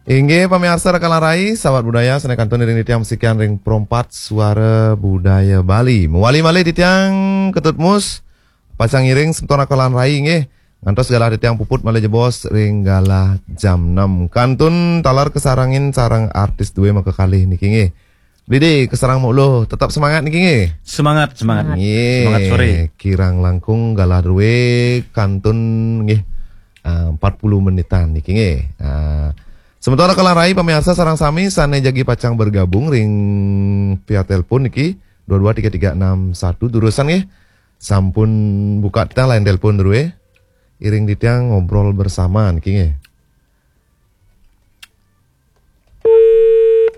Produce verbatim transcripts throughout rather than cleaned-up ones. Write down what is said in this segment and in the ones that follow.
Inggih pamiarsa Raka lan Rai, sahabat budaya, sané kantun iring titiang masikian ring Pro empat Suara Budaya Bali. Mawali malih titiang Ketut Mus, pacang ngiring semeton Raka lan Rai nggih. Ngantos galah titiang puput malih jebos ring galah jam enam. Kantun taler kasarengin sareng artis dué makakalih niki nggih. Didi, kasareng mulu, tetap semangat niki nggih. Semangat, semangat. Nggih. Semangat sore. Kirang langkung galah dué kantun nggih. Ah, empat puluh menitan niki nggih. Ah, semeton Raka lan Rai pamiarsa sareng sami sané jagi pacang bergabung ring via telepon niki dua dua tiga tiga enam satu durusang nggih. Sampun buka tah line telepon dué. Iring titiang ngobrol bersama niki nggih.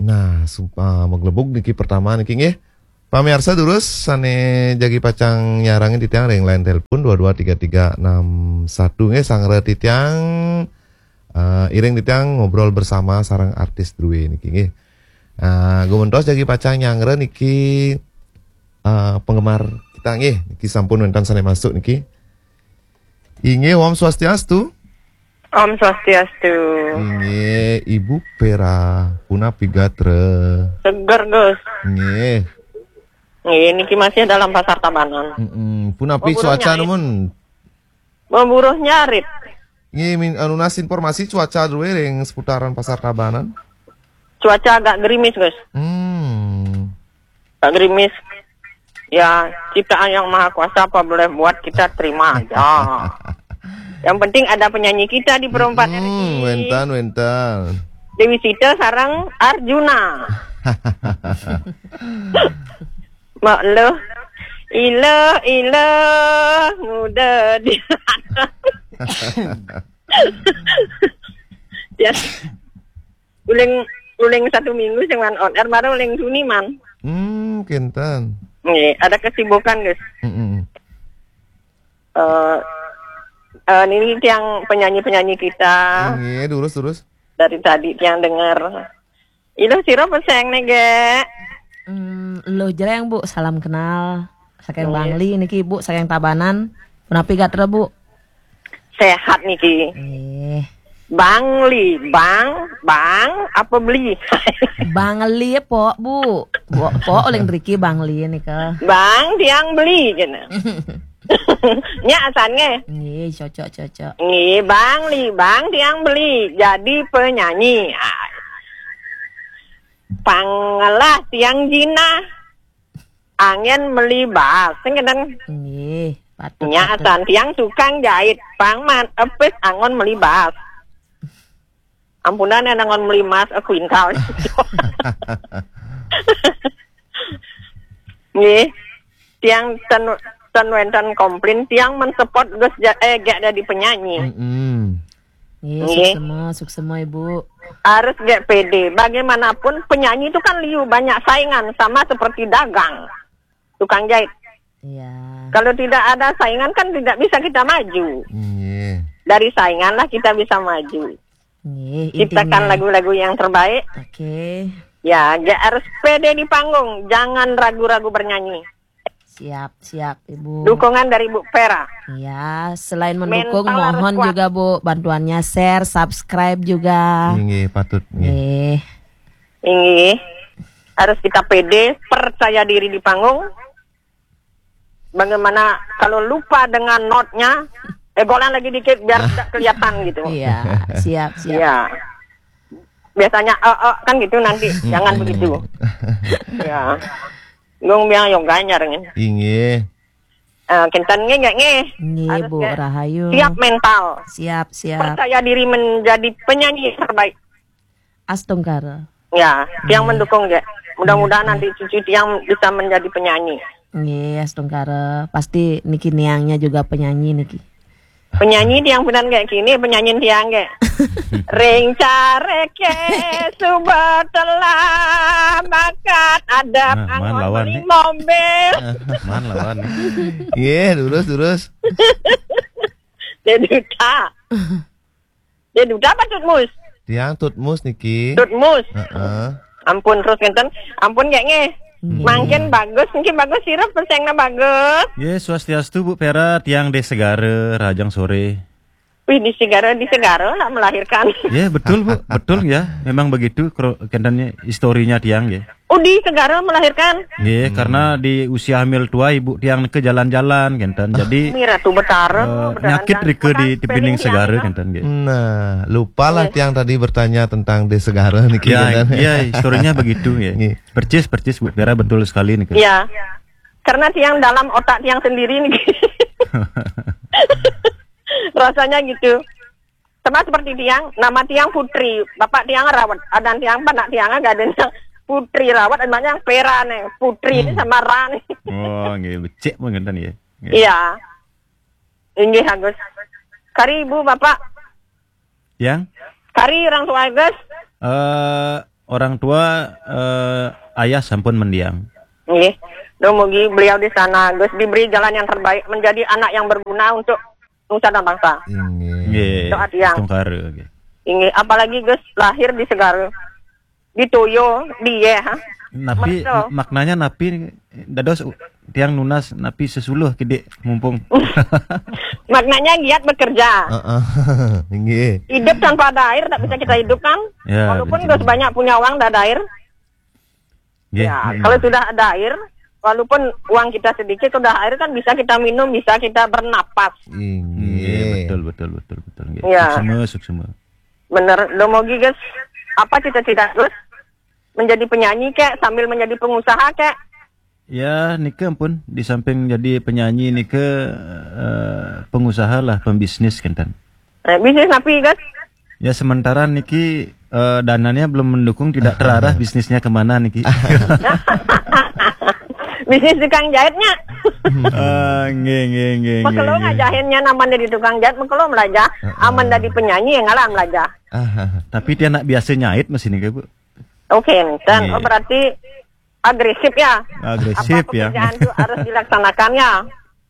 Nah, sumpah maglebug niki pertama niki nggih. Pamiarsa durus sané jagi pacang nyarengin titiang ring line telepon dua dua tiga tiga enam satu nggih, sareng titiang, eh, iring titiang ngobrol bersama sareng artis dué niki nggih. Eh, gumentos jagi pacang nyarengin niki, eh, penggemar kita nggih, niki sampun wénten sané masuk niki. Inggih, Om Swastiastu. Om Swastiastu. Inggih, Ibu Pera, punapi gatra? Seger, Gus. Nggih. Nggih, niki masih dalam Pasar Tabanan. Mm-mm. Punapi cuaca nyarit. Nemen? Memburuh nyarit. Nggih, min-, anu, nunas informasi cuaca dué ring seputaran Pasar Tabanan. Cuaca agak gerimis, Gus. Hmm. Agak gerimis. Ya, ciptaan Yang Maha Kuasa apa boleh buat, kita terima aja. Yang penting ada penyanyi kita di Pro empat. Hmm, R I. Wénten, wénten. Dewi Sita sareng Arjuna. Mak lo, ilo, ilo, muda di. Ya. Uling, uling satu minggu sing wan on air, baru uling Juni, man. Hmm, kinten. Nggih, ada kesibukan, Gus. Mm-mm. Eh, eh, ini tiang penyanyi-penyanyi kita. Nggih, terus, terus. Dari tadi tiang dengar. Ilo sira pesengne, Gek? Hmm, Luh Jreng, Bu, salam kenal. Saking Bangli niki, Bu, saking Tabanan. Punapi gatra, Bu? Sehat niki. Nggih. Bangli, bang, bang apa beli? Bangli pok, Bu. Bu, pok uling driki Bangli nika. Bang tiang beli jena. Nya asan nggih. Nggih, cocok, cocok. Nggih, Bangli, bang tiang beli jadi penyanyi. Ah. Pangelah tiang jinah. Angin meli bas, sing kadang. Nggih, patut. Nya patut. Asan tiang tukang jahit, pang man epis angon meli bas. Ampunan yang angon meli mas, eh, kuintal. Nggih. Tiang ten, ten wénten komplain, tiang men support Gus ja-, eh, gak jadi penyanyi. Mm-mm. Nggih, nggih. Suksema, suksema, Ibu. Harus gak pede. Bagaimanapun penyanyi itu kan liu, banyak saingan, sama seperti dagang, tukang jahit. Iya. Kalau tidak ada saingan kan tidak bisa kita maju. Nggih. Dari saingan lah kita bisa maju. Nggih, ciptakan intinya lagu-lagu yang terbaik. Oke. Ya, gak harus pede di panggung, jangan ragu-ragu bernyanyi. Siap, siap, Ibu. Dukungan dari Bu Pera. Iya, selain mendukung, mental harus mohon kuat juga, Bu, bantuannya share, subscribe juga. Inggih, patut, inggih. Nggih. Inggih. Harus kita pede, percaya diri di panggung. Bagaimana kalau lupa dengan notnya, eh, golan lagi dikit biar tidak kelihatan gitu. Iya, siap, siap. Iya. Biasanya, eh, eh, kan gitu nanti. Jangan begitu. Ya. Gung biang yoga nyarengin. Inggih. Eh, kinten nggih, nggih, nggih. Nggih, harus Bu, nggih. Rahayu. Siap mental. Siap, siap. Percaya diri menjadi penyanyi terbaik. Astungkara. Ya, tiang mendukung, nggih. Mudah-mudahan nanti cucu tiang bisa menjadi penyanyi. Nggih, astungkara. Pasti niki niangnya juga penyanyi niki. Penyanyi tiang benar kayak gini, penyanyi tiang kayak. Ring careke suba telah bakat ada. Nah, man anggon lawan beli nih. Mobil. Man lawan nih. Iya, terus, terus. Dia duta. Dia duta apa Tutmus? Tiang Tutmus niki. Tutmus. Heeh. Ampun terus ngenten. Ampun kayak nggih. Nggih. Mangkin bagus, mungkin bagus sirup pesengna bagus. Nggih, swastiastu Bu Pera, tiang di Segara, rahajeng sore. Wih, di Segara, di Segara nak melahirkan. Ya, betul, Bu. Betul ya. Memang begitu kro-, kentennya historinya tiang ya. Oh, di Segara melahirkan. Ya, karena di usia hamil tua ibu tiang ke jalan-jalan kenten. Jadi Mira tuh betara, eh, nyakit rike di tepining Segara kenten ya. Nah, lupalah tiang tadi bertanya tentang di Segara niki. Ya, ya, historinya begitu ya. Percis, percis Bu Vera, betul sekali nih. Ya. Karena tiang dalam otak tiang sendiri nih. Rasanya gitu. Sama seperti tiang, nama tiang Putri, bapak tiang Rawat, adan tiang, panak tiang, gaden tiang Putri Rawat, anaknya yang Pera nih, Putri ini sama Ra nih. Oh, nggih, becik mengenten ya. Nggih. Iya. Inggih, Agus. Kari ibu, bapak. Yang? Kari orang tua, Agus. Eh, orang tua, eh, ayah sampun mendiang. Nggih. Dumugi beliau di sana, Agus, diberi jalan yang terbaik, menjadi anak yang berguna untuk nusa dan bangsa. Inggih. Nggih. Doa tiang. Tungkara, nggih. Inggih, apalagi Gus lahir di Segara. Di Toyo, di ye, ha? Napi, maknanya napi dados u-, tiang nunas napi sesuluh kidik mumpung. Maknanya giat bekerja. Heeh. Inggih. Hidup tanpa ada air tak bisa kita hidup kan? Ya, walaupun betul. Gus banyak punya uang, tak ada air. Nggih, ya, kalau sudah ada air, walaupun uang kita sedikit, sudah air kan bisa kita minum, bisa kita bernapas. Inggih. Nggih, betul, betul, betul, betul. Nggih. Ya. Suksma, suksma. Bener, dumugi, Gus. Apa cita-cita, Gus? Menjadi penyanyi kek, sambil menjadi pengusaha kek? Ya, nika ampun, di samping jadi penyanyi nika, eh, pengusaha lah, pembisnis kenten. Eh, bisnis napi, Gus? Ya, sementara niki, eh, dananya belum mendukung, tidak terarah bisnisnya kemana niki. Bisnis tukang jahitnya. Ah, nggih, nggih, nggih, nggih, nggih. Mekelo ngajahitnya namanya di tukang jahit, mekelo melajah. Heeh. Aman dari penyanyi yang ngalah melajah. Ah, tapi dia nak biasa nyait masih nih, Bu. Oke, enten. Nggih. Oh, berarti agresif ya? Agresif ya. Apa pekerjaan tuh harus dilaksanakan ya?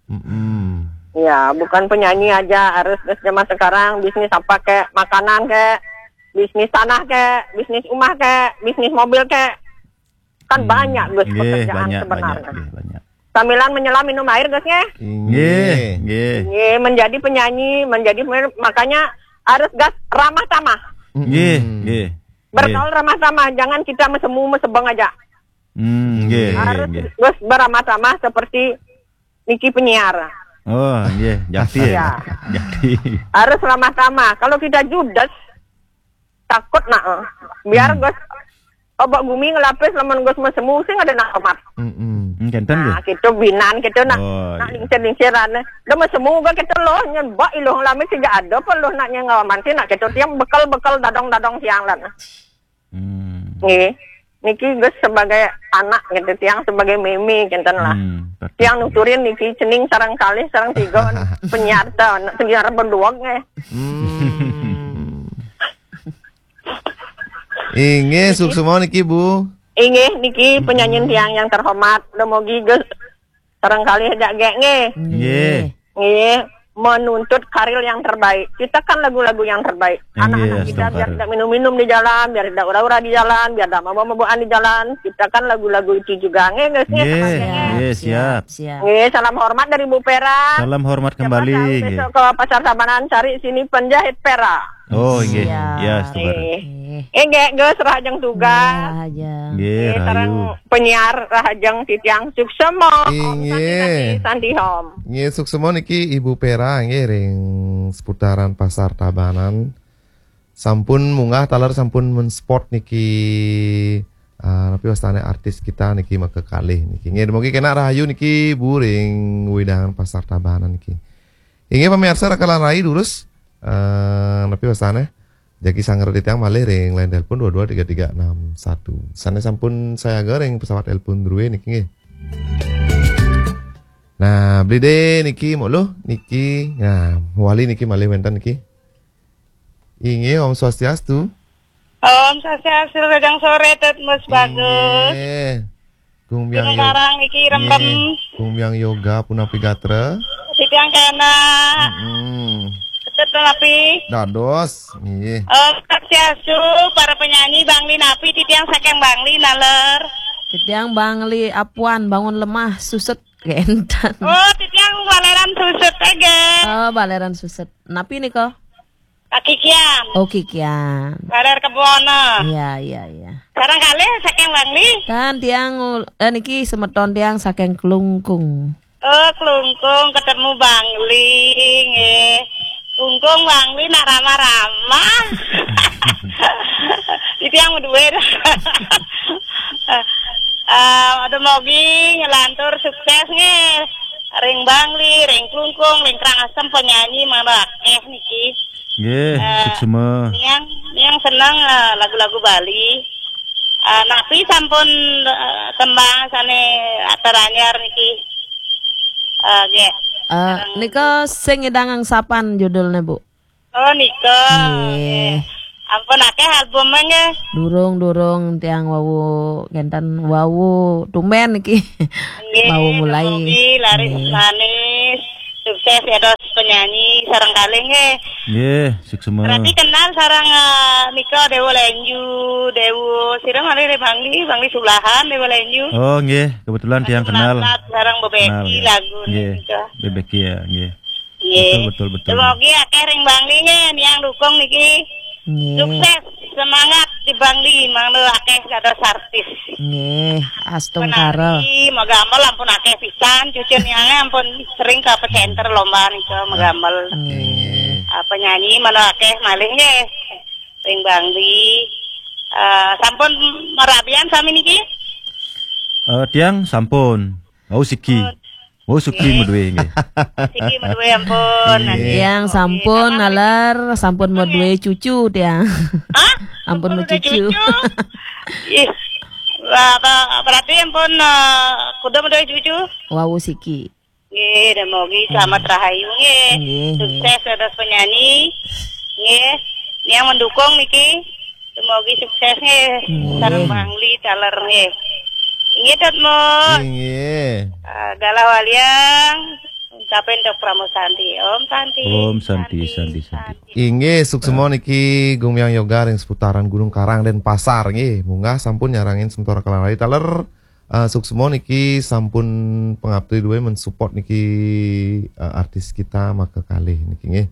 Mm-mm. Ya, bukan penyanyi aja, harus terus zaman sekarang bisnis apa kek, makanan kek, bisnis tanah kek, bisnis rumah kek, bisnis mobil kek. Kan banyak, Gus, nggih, pekerjaan banyak, sebenarnya. Banyak, nggih, banyak. Sambilan menyelam minum air, Gus, nggih? Nggih, nggih. Nggih, menjadi penyanyi, menjadi pemain, makanya harus gas ramah tamah. Mm-mm. Nggih, nggih. Bergaul ramah tamah, jangan kita mesemu mesebeng aja. Hmm, nggih, nggih, harus nggih. Gus beramah tamah seperti niki penyiar. Oh, nggih, jati ya. Ya. Jati. Harus ramah tamah. Kalau kita judes, takut nak. Biar Gus obak gumi ngelapis lamun Gus mesemu sing ada nak hormat. Mm-mm. Hmm, kenten nggih. Nah, gitu binan gitu nak. Oh, nak iya. Lingsir-lingsiran. Dah mesemu ga gitu loh, nyen bak iluh lamit sejak ada apa loh nak nyen ngawaman sih nak gitu. Tiang bekel-bekel dadong-dadong tiang lan. Hmm. Nggih. Niki Gus sebagai anak gitu, tiang sebagai meme kenten lah. Hmm, betul. Tiang nuturin niki cening sareng kalih sareng tiga penyiar ta, penyiar berdua nggih. Hmm. Inggih, suksma niki, Bu. Inggih, niki penyanyi tiang yang terhormat. Dumugi Gus sareng kalih jak gek nggih. Nggih. Nggih, menuntut karir yang terbaik. Ciptakan lagu-lagu yang terbaik. Nggih, anak-anak kita biar tidak minum-minum di jalan, biar tidak ura-ura di jalan, biar tidak mabuk-mabukan di jalan. Ciptakan lagu-lagu itu juga nggih, Gus, nggih. Nggih, siap. Siap. Nggih, salam hormat dari Bu Pera. Salam hormat kembali. Siapa tahu besok ke Pasar Tabanan cari sini penjahit Pera. Oh, nggih. Siap. Ya, setuju. Nggih. Nggih, Gus, rahajeng tugas. Nggih, rahajeng. Nggih, rahayu. Sareng penyiar rahajeng titiang suksma. Om Santi, Santi, Santi, Om. Nggih, suksma niki Ibu Pera nggih ring seputaran Pasar Tabanan. Sampun munggah taler sampun men-spot niki, ah, napi wastane artis kita niki maka kalih niki. Nggih, dumugi kena rahayu niki Bu ring wewidangan Pasar Tabanan niki. Inggih pamirsa rakalan rai durus, eh, napi wastane? Jagi sangger titiang malih ring line telepon dua dua tiga tiga enam satu. Sane sampun sayaga ring pesawat telepon druwe niki nggih. Nah, blide niki mulu niki. Nah, wali niki malih wenten niki. Inggih, Om Swastiastu. Om Swastiastu, kadang sore, Tut Mus Bagus. Inggih. Gung Biang Gunung Yo-, Karang niki, Rempem. Nggih. Gung Biang Yoga, punapi gatra? Titiang kena. Mm-mm. Tut napi? Dados, nggih. Om Swastiastu, para penyanyi, Bangli napi, titiang saking Bangli, naler. Titiang Bangli Apuan, Bangun Lemah, Suset, Gentan. Oh, titiang Baleran Suset, nggih. Oh, Baleran Suset. Napi nika? Pak Kikian. Oh, Kikian. Kaler Kebono. Iya, iya, iya. Sareng kalih saking Bangli. Kan tiang ul- eh, niki semeton tiang saking Klungkung. Oh, Klungkung ketemu Bangli, nggih. Klungkung Bangli nak ramah-ramah. Itu yang duwe. Eh, ada mogi ngelantur sukses nggih. Ring Bangli, ring Klungkung, ring Karangasem penyanyi mangda akeh niki. Nggih, eh, suksma. Niang niang seneng eh, lagu-lagu Bali. Eh, napi sampun eh, tembang sane atur anyar niki. Eh, nggih. Eh, nika sing ngidang angsapan judulnya, Bu? Oh, nika. Nggih. Nggih. Ampun akeh album nggih. Durung, durung tiang wau kenten wau tumben niki. Nggih, wau mulai. Mugi laris nggih. Manis. Sukses ya dos penyanyi sareng kalih nggih. Nggih, suksma. Berarti kenal sareng eh, nika Dewa Lenju, Dewa sira malih Bangli, Bangli Sulahan Dewa Lenju. Oh, nggih, kebetulan tiang kenal. Kenal sareng Bebeki lagu nggih. Nika. Bebeki ya, nggih. Nggih. Betul, betul, betul. Semoga akeh ring Bangli nggih, niang dukung niki. Nggih. Sukses, semangat di Bangli, mangda akeh kados artis. Nggih, astungkara. Penari, magamel ampun akeh pisan, cucu niange ampun sering ke pecenter lomba nika magamel. Nggih. Ah, penyanyi mana akeh malih nggih. Ring Bangli. Eh, sampun merabian sami niki? Eh, tiang sampun. Wau siki. Oh, wau siki nggih. Medue nggih. Siki medue ampun. Nggih. Tiang sampun naler, sampun medue cucu tiang. Hah? Ampun cucu. Ih. Wah, ba- berarti ampun eh, kuda medue cucu. Wau siki. Nggih, dan mogi selamat rahayu nggih. Nggih, nggih. Sukses atas penyanyi. Nggih. Yang mendukung niki. Semoga sukses nggih. Nggih. Sareng Bangli taler nggih. Inggih, Dot Mo. Inggih. Ah, galah waliang. Ucapin Dok Pramo Santi. Om Santi. Om Santi, Santi, Santi, Santi. Inggih, suksma niki Gumiang Yoga ring seputaran Gunung Karang Denpasar nggih. Munggah sampun nyarengin semeton Rakalan Rai taler. Ah, suksma niki sampun pangapti duwe mensupport niki ah, artis kita maka kalih niki nggih.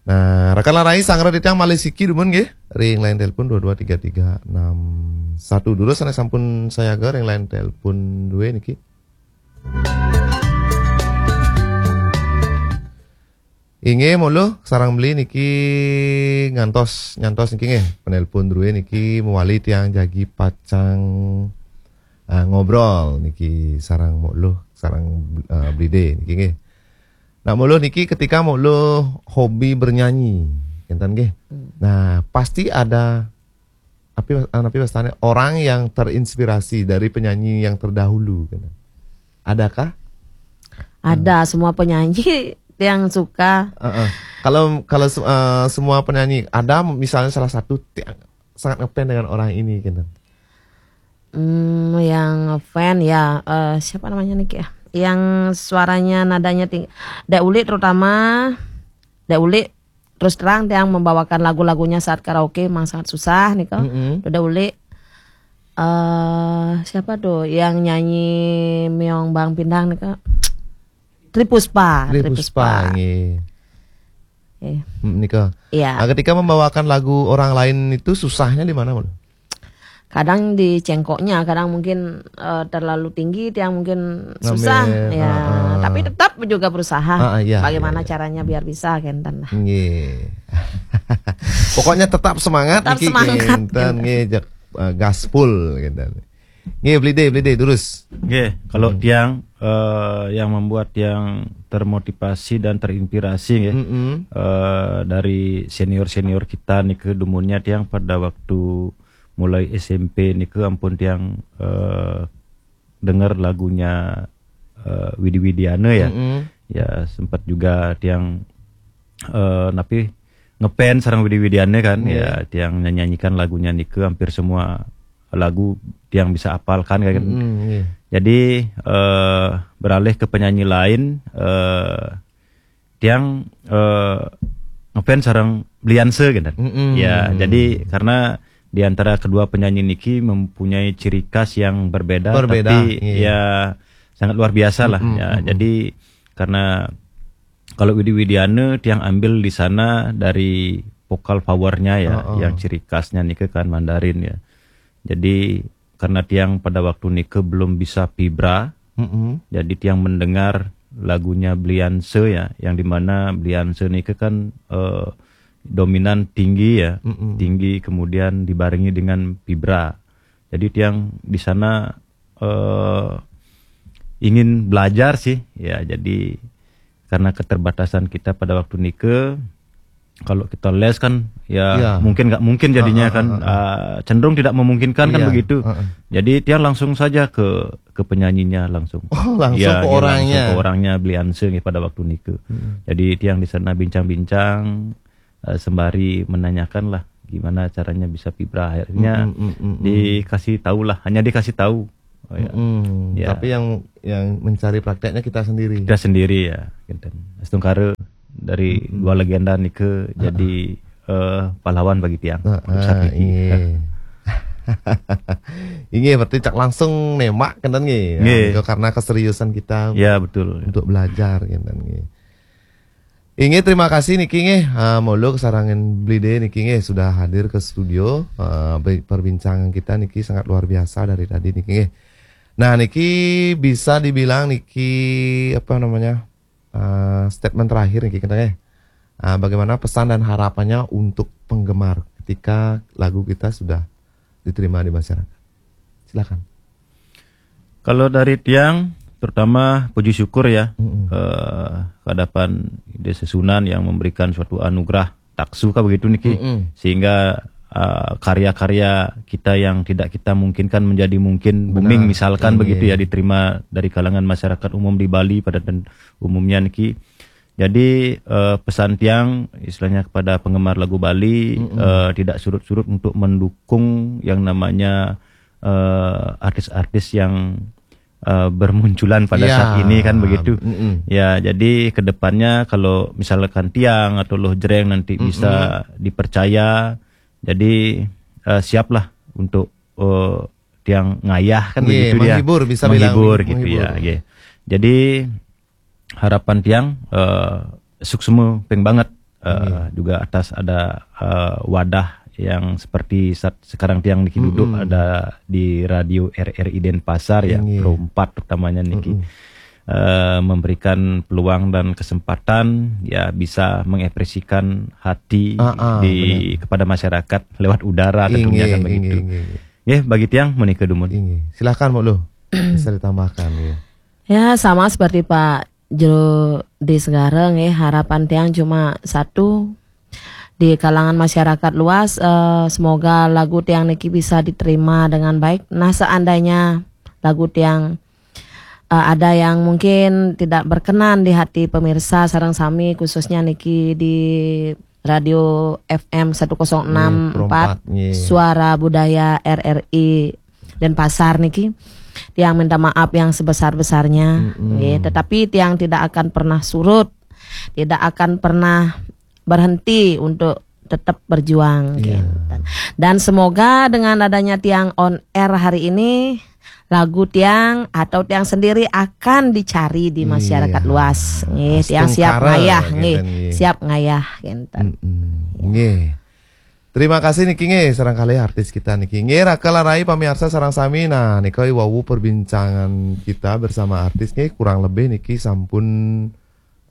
Nah, Rakalan Rai sangra titiang malih siki dumun nggih. Ring line telepon dua dua tiga tiga enam satu. Dulu sana sampun sayaga ring line telepon duwe niki. Inggih, mulu sareng beli niki ngantos nyantos niki nggih. Penelpon druwe niki mewali tiang jagi pacang ah, ngobrol niki sareng mulu sareng ah, blide niki nggih. Nah, mulu niki ketika mulu hobi bernyanyi, enten nggih. Hmm. Nah, pasti ada tapi ah, tapi pastane orang yang terinspirasi dari penyanyi yang terdahulu gitu. Adakah? Ada, semua penyanyi yang suka. Heeh. Kalau kalau se- eh, semua penyanyi ada misalnya salah satu yang sangat ngefans dengan orang ini gitu. Hmm, yang ngefans ya eh, siapa namanya nih ya? Yang suaranya nadanya tinggi. Dek Ulik terutama. Dek Ulik terus terang tiang membawakan lagu-lagunya saat karaoke memang sangat susah nih kok. Mm-mm. Dek Ulik eh siapa tuh yang nyanyi Meong Bang Pindang nih kok? Tri Puspa, Tri Tri Puspa, Puspa. Nggih. Eh, Hmm, nika. Iya. Nah, ketika membawakan lagu orang lain itu susahnya di mana, Bang? Kadang di cengkoknya, kadang mungkin eh, terlalu tinggi, tiang mungkin susah, Ngambil, ya. Heeh. Tapi tetap juga berusaha. Heeh, iya, Bagaimana iya, iya. Caranya biar bisa, kenten lah. Nggih. Pokoknya tetap semangat Tetap niki semangat, kenten gitu. Nggih, jak- eh, gaspol kenten. Nggih, blide, blide, terus. Nggih, kalau Hmm. tiang eh, yang membuat tiang termotivasi dan terinspirasi nggih. Mm-mm. Eh, dari senior-senior kita nih ke dumunnya tiang pada waktu mulai S M P nih ke ampun tiang eh, dengar lagunya eh, Widi Widiana ya. Mm-mm. Ya sempat juga tiang eh, napi ngefans sareng Widi Widiana kan. Iya. Ya tiang nyanyikan lagunya nike hampir semua lagu tiang bisa apalkan kan. Mm-mm, iya. Jadi eh, beralih ke penyanyi lain eh, tiang eh, ngefans sareng Blianse gitu. Mm-mm. Ya, jadi karena di antara kedua penyanyi niki mempunyai ciri khas yang berbeda, Berbeda, tapi iya. Ya sangat luar biasa lah. Mm-mm, Ya, mm-mm. Jadi karena Kalau Widi Widiana, tiang ambil di sana dari vokal vowelnya ya, Heeh. yang ciri khasnya nika kan Mandarin ya. Jadi karena tiang pada waktu nika belum bisa vibra, Mm-mm. jadi tiang mendengar lagunya Bli Anse ya, yang dimana Bli Anse nika kan eh, dominan tinggi ya, Mm-mm. tinggi kemudian dibarengi dengan vibra. Jadi tiang di sana eh, ingin belajar sih ya. Jadi karena keterbatasan kita pada waktu nika, kalau kita les kan ya, ya. mungkin nggak mungkin jadinya, kan, uh, cenderung tidak memungkinkan, kan, begitu. Jadi tiang langsung saja ke ke penyanyinya langsung. Oh, langsung ya, ke orangnya. Langsung ke orangnya, Bli Anse pada waktu nika. Hmm. Jadi tiang di sana bincang-bincang uh, sembari menanyakan lah gimana caranya bisa vibra. Akhirnya mm, mm, mm, mm, dikasih tahu lah, hanya dikasih tahu. Oh, ya. Mm, ya. Tapi yang yang mencari prakteknya kita sendiri. Kita sendiri ya, kinten. Astungkara dari mm, mm. dua legenda nika uh, jadi uh, pahlawan bagi tiang. Uh, uh, iya. Ini berarti cak langsung nembak, kinten nggih. Ya, karena keseriusan kita ya, betul. Untuk belajar, kinten nggih. Inggih, terima kasih niki nggih, uh, Molo kesarangan Blide niki nggih sudah hadir ke studio. Uh, perbincangan kita niki sangat luar biasa dari tadi niki nggih. Nah, niki bisa dibilang niki apa namanya uh, statement terakhir niki kita nggih. Uh, bagaimana pesan dan harapannya untuk penggemar ketika lagu kita sudah diterima di masyarakat? Silakan. Kalau dari tiang, terutama puji syukur ya, mm-mm. eh, kehadapan Ida Sesunan yang memberikan suatu anugerah taksu kah begitu niki, mm-mm. sehingga uh, karya-karya kita yang tidak kita mungkinkan menjadi mungkin, benar. Booming misalkan, iya. Begitu ya, diterima dari kalangan masyarakat umum di Bali pada dan umumnya niki. Jadi uh, pesan tiang istilahnya kepada penggemar lagu Bali, mm-mm. uh, tidak surut-surut untuk mendukung yang namanya uh, artis-artis yang uh, bermunculan pada ya. Saat ini, kan begitu. Mm-mm. Ya, jadi kedepannya kalau misalkan tiang atau Loh Jreng nanti mm-mm. bisa dipercaya, jadi uh, siaplah untuk uh, tiang ngayah, kan yeah, begitu, menghibur, ya. Bisa menghibur bilang, gitu menghibur. Ya. Yeah. Jadi harapan tiang uh, suksma ping banget uh, juga atas ada uh, wadah yang seperti saat sekarang tiang niki duduk mm-mm. Ada di radio R R I Denpasar ya, Pro empat utamanya niki. Uh, memberikan peluang dan kesempatan ya bisa mengekspresikan hati uh, uh, di benar. Kepada masyarakat lewat udara tentunya, kan begitu. Nggih, bagi tiang menika dumun. Silahkan, Mbok Luh. Bisa ditambahkan ya. Ya, sama seperti Pak Jero di Segara nggih, harapan tiang cuma satu, di kalangan masyarakat luas, eh, semoga lagu tiang niki bisa diterima dengan baik. Nah, seandainya lagu tiang uh, ada yang mungkin tidak berkenan di hati pemirsa sareng sami, khususnya niki di Radio F M satu kosong enam empat, Suara Budaya R R I Denpasar niki. Tiang minta maaf yang sebesar-besarnya, mm-mm. Nggih, tetapi tiang tidak akan pernah surut, tidak akan pernah berhenti untuk tetap berjuang. Yeah. Dan semoga dengan adanya tiang on air hari ini, lagu tiang atau tiang sendiri akan dicari di masyarakat yeah. Luas. Nggih, tiang siap ngayah, nggih. Siap ngayah, kinten. Nggih. Terima kasih niki nggih, sareng kalih artis kita niki. Nggih, Raka Larai pamiarsa sareng sami. Nah, nika wau perbincangan kita bersama artis nggih, kurang lebih niki sampun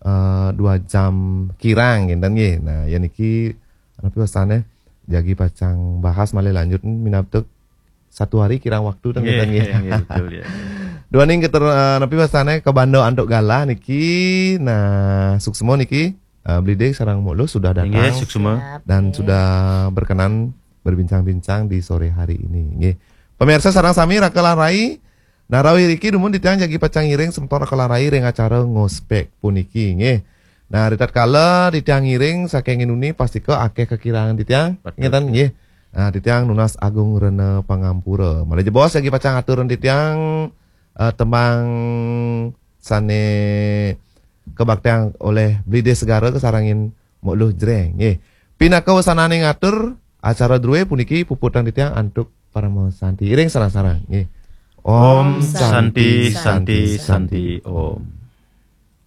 uh, dua jam kirang, kinten nggih. Nah, ya niki napi wastane jagi pacang bahas malih lanjut minabtek satu hari kirang waktu ten, kinten nggih. Nggih, betul ya. Duaning keter uh, napi wastane kabanda antuk galah niki. Nah, suksma niki uh, Blide sareng Mbok Luh sudah datang. Nggih, suksma. Dan sudah berkenan berbincang-bincang di sore hari ini. Nggih. Pemirsa sareng sami, Raka Larai, nah, rawuh riki dumun titiang jagi pacang ngiring semeton Raka Larai ring acara ngospek puniki, nggih. Nah, ritatkala titiang ngiring saking inuni pastika akeh kakirangan titiang, ngeten nggih. Nah, titiang nunas agung rena pangampura. Malih jebos jagi pacang atur titiang uh, tembang sane kabaktiang oleh Blide Segara kasarengin Mbok Luh Jreng, nggih. Pinaka wesananing atur acara druwe puniki puputang titiang antuk parama santi. Iring sareng-sareng, nggih. Om Santi, Santi, Santi, Om.